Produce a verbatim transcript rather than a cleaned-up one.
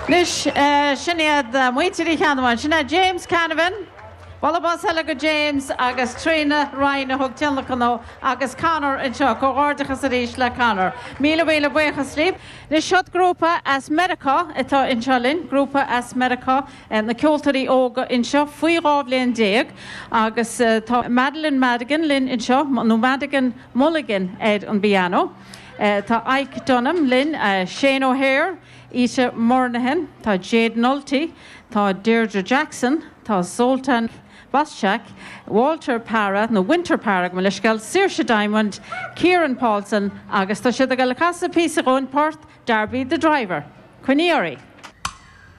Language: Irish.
Anois sin iad muintir Uí Cheannabháin, sin é James Canavan, Bualadh bos eile go James agus Tríona Ryan a thug tionlacan dó agus Conor anseo, comhghairdeachas arís le Conor. Míle míle buíochas libh. Anois seo grúpa as Meiriceá atá anseo linn, grúpa as Meiriceá, na ceoltóirí óga anseo faoi dhá bhliain déag agus tá Madeline Madigan linn anseo, nó Madigan Mulligan ar an bpianó. Tá Ike Dunham linn, Shane O'Hare, Ita Murnaghan, tá Jade Nulty, tá Deirdre Jackson, tá Zoltan Boschak, Walter Para nó Winter Para go leisceal Saoirse Diamond, Kieran Paulson agus tá siad ag casadh píosa dhúinn port Darby the Driver. Coinnigh oraibh.